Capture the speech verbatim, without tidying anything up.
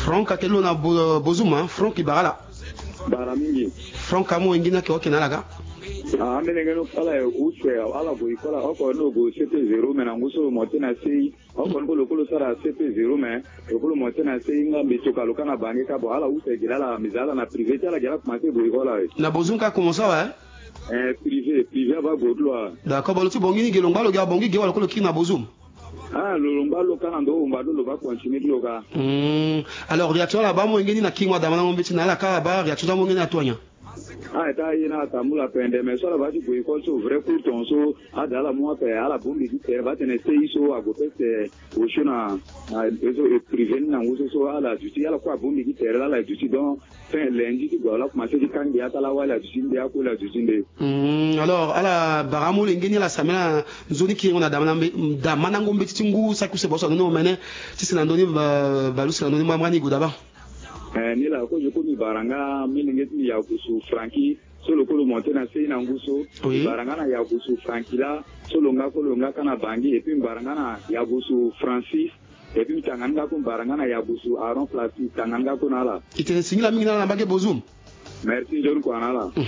Franck ake lo na Bo- Bozuma, Franck i bara ala. Bara mingi. Franck amu wenge ni ake oke na ala ka. Ah, amene nge no ala e use ala go ikola oko no go C P zéro me na ngu so lo monte na C I. Oko ni ko lo ko lo sara C P zéro me lo ko lo monte na C I nga mbi toka lo ka na bange ka bon ala use gi lala mbi za ala na privé ti ala gi ala commencé go ikola e. Na Bozum ka commencé awe? Eh, privé, privé aba go ti lo ala. D'accord, bon lo ti bongi ni ge lo ngba lo gi abongi ge wala ko lo kiri na Bozum? Ah, lo lo ngba lo ka na ndo omba lo lo ba continuer ti lo ka. Hmm. Alors réaction ala ba mo wenge ni na kingo adamandango mbeti na ala ka aba réaction ti amo wenge ni ato anya? Ah, eta ye na atambula pende mais so ala ba ti go école so vrai court ton so ada ala mu ape ala bongbi ti tere ba tene C I so ago pese osio na na so e privé ni na ngu so so ala duti ala kue abongbi ti tere la ala duti donc fin lundi ti gue ala commencé ti ka ngbia ti ala wali aduti nde akoli aduti nde. Hmm, alors ala bara amolenge ni ala sambela nzoni kiringo na damandango mbeti ti ngu saki use boso andoni omene ti si na ndoni ba- balusi na ndoni mbamani gue daba. Eh, ni la kozo ko mbi bara nga milenge ti mbi yagusu Francky so lo ko lo monte na sei na ngu so. Oui. Mbi bara nga na yagusu Francky la so lo nga ko lo nga ka na bangi et puis mbi bara nga na yagusu Francis. Et puis mbi tanga ni nga ko mbi bara nga na yagusu Aaron Plastique tanga ni nga ko na ala. I tene singila mingi na ala na mbage Bozum. Merci nzoni kua na ala.